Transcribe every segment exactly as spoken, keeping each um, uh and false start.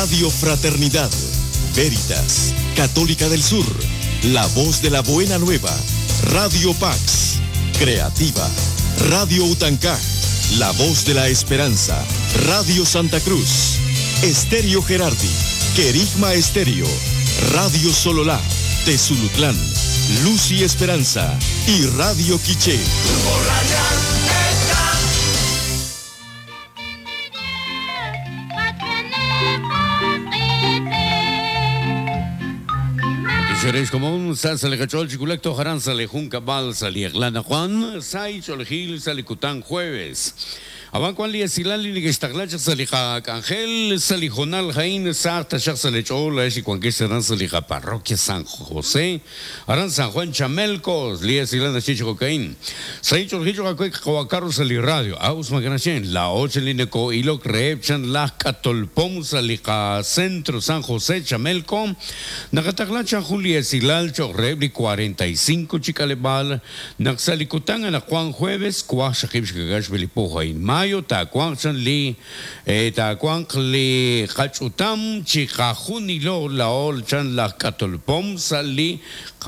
Radio Fraternidad, Veritas, Católica del Sur, La Voz de la Buena Nueva, Radio Pax, Creativa, Radio Utancaj, La Voz de la Esperanza, Radio Santa Cruz, Estéreo Gerardi, Querigma Estéreo, Radio Sololá, Tezulutlán, Luz y Esperanza y Radio Quiché. Como sale chiculecto jaran sale junca bal sale Juan sai cholgil sale cután jueves. Aban li esilali ni gestaglacha salija Ángel salijonal jain sarta shak salechol y cuan que serán salija parroquia San José Aran San Juan Chamelcos li esilana chicho cocaín sai cholgicho kawakarro sali radio aus maganashen la ocho lineco ilo crepchan la catolpom salija centro San José Chamelco nakataglacha Julia esilal chorrebli cuarenta y cinco chicalebal naxalicután ana Juan jueves cuaxajib shkagash belipoja in mayo tacuanchan li tacuanc li cachutam chicajunilo la olchan la catolpom sali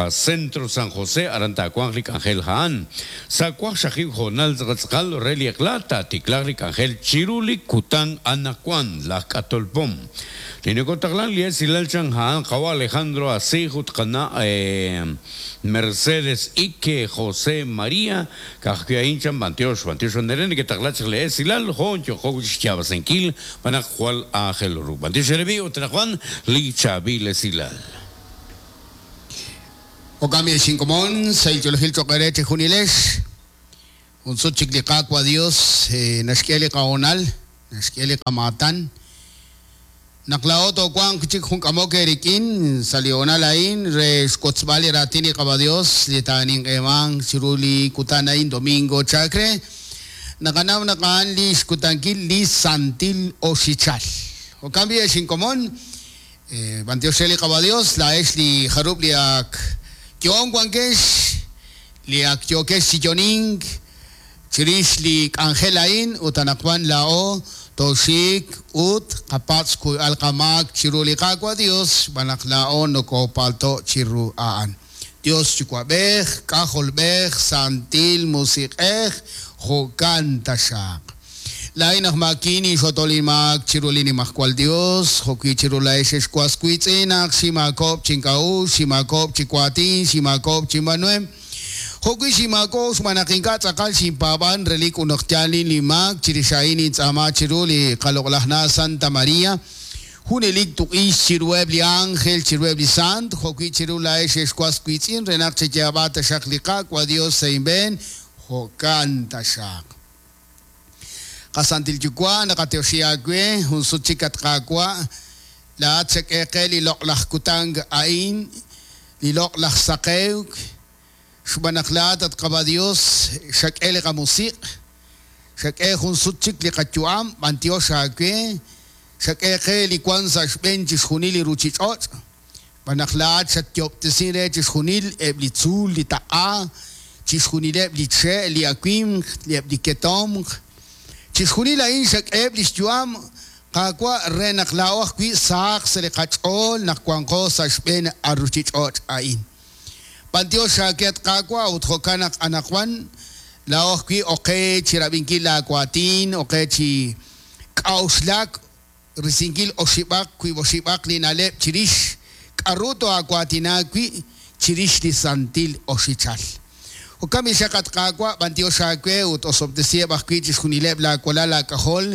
centro San José arantacuanc Ángel Haan sacuaxajib jonal zgatzcal relieclata ticlagric Ángel chiruli cutan anacuan la catolpom Linecotaglan li esilalchan haan kawa Alejandro Asijut kana Mercedes Ike José María Kajkiahinchan Bantiosh Bantiosh Nerene que taglach le esilal Honcho Joguch Chabasenkil Banajual Ángel Ru Bantiosh Erebi Otrajuan Li Chabil Esilal Okami Shinkomon Saichologil Chocareche Junilesh Unsuchik Liqaqua Dios Nashkieli Kaonal Nashkieli Kamatan Naklaoto Juan Chik Junkamoke Rikin Saliona Lain Rescotzbali Ratini Cabadios Litanin Eman Chiruli Kutanain Domingo Chacre Nakanam Nakan Lis Kutankil Lis Santil Osichal O cambia Shinkomon Bantiosheli Cabadios La Esli Harubliak Kion Juankesh Liak Yokesh Yoning Chirishli Angelain Utanakwan Lao Toshik ut kapatsku alkamak chirulikakwa Dios banaklaon no kopalto chiruaan. Dios chukwabej, kajolbej, santil musikej, jokantashak. Lainaj makini xotolimak chirulini majkual Dios, joki chirulaex xkuaskuitzinak, ximakop chinkau, ximakop chikuatin, ximakop chimanuem. Joki ximako xmanakinka tzakal ximpaban relik unoktialin limak chirishain itzama chiruli kaloklahna Santa María. Junelik tuqis chiruebli ángel chiruebli sant, joki chirulaex xkuaskuitzin renak chechiabata xakliqakua Dios seinben, jokanta xak. Qasantil yukwa nakateoshiakwe hunsuchikatqakwa la tsekeqe liloqlajkutang ain liloqlajsaqewk xbanaqlaat atqaba Dios xak'el qamusiq xak'e hunsuchik liqachuam bantioxakwe xak'eqe likuan saxben chixjunil iruchich'och banaqlaat xatyoptesin re chixjunil eblitzul litaqa chixjunil ebliche liakwim liebdiketomq Chixjunil ain xak'eb lixyuam qakwa renaqla'oj wi saaq seliqach'ol naqwanqo saxb'en arruchich'och ain. Pantio xaket qakwa utjokanaq anaqwan la'oj wi oqe chirab'inkil la'akwatin oqe chi k'awxlak risinkil oxib'aq wi oxib'aq linaleb chirix k'arruto akwatina wi chirix li santil oxichal. Okami xaqat qaqwa bantio xaqwe ut osobtesieb ajwi chixjunileb la kuala la kajol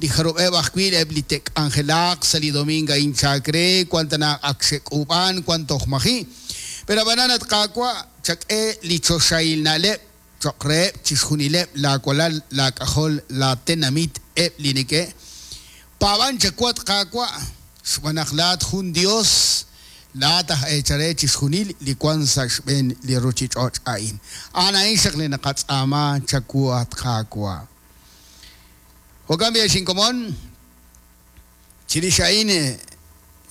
li jarubeb ajwi eb li tek angelaq sali dominga inchakre cuantana akxek'uban cuanto ojmaji pero bananat qaqwa chak'e li choxailnaleb choqreb chixjunileb la kuala la kajol la tenamit eb linike paban chakwat qaqwa xbanaqlat jun Dios la taj echare chixjunil li kwan saxben li ruchich'och ain. Ana inxaq li naqatz'ama chakuat qaqwa. Jokambia xinkomon chirixain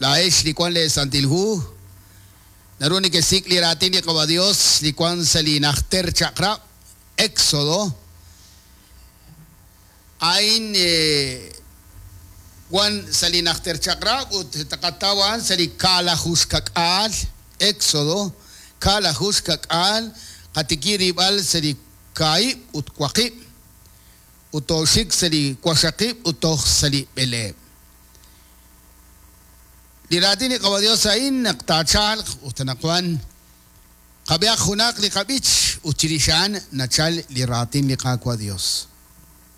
la ex li kwan le santilhu naruni que sik li ratini qaba Dios li kwan salinajter chaqra Éxodo ain eh, wan sa' li najter chaq'rab' ut taqataw a'an sa' li kaalaju xka'k'aal, Éxodo, kaalaju xka'k'aal, qatiki rib'al sa' li kaahib' ut waqib', ut tooxik sa' li waqxaqib' ut toj sa' li b'eleeb'. Li raatin li Qaawa' Dios a'in naq taachalq ut anaqwan qab'ehaq junaq li qab'ich ut chirix a'an nachal li raatin li Qaawa' Dios.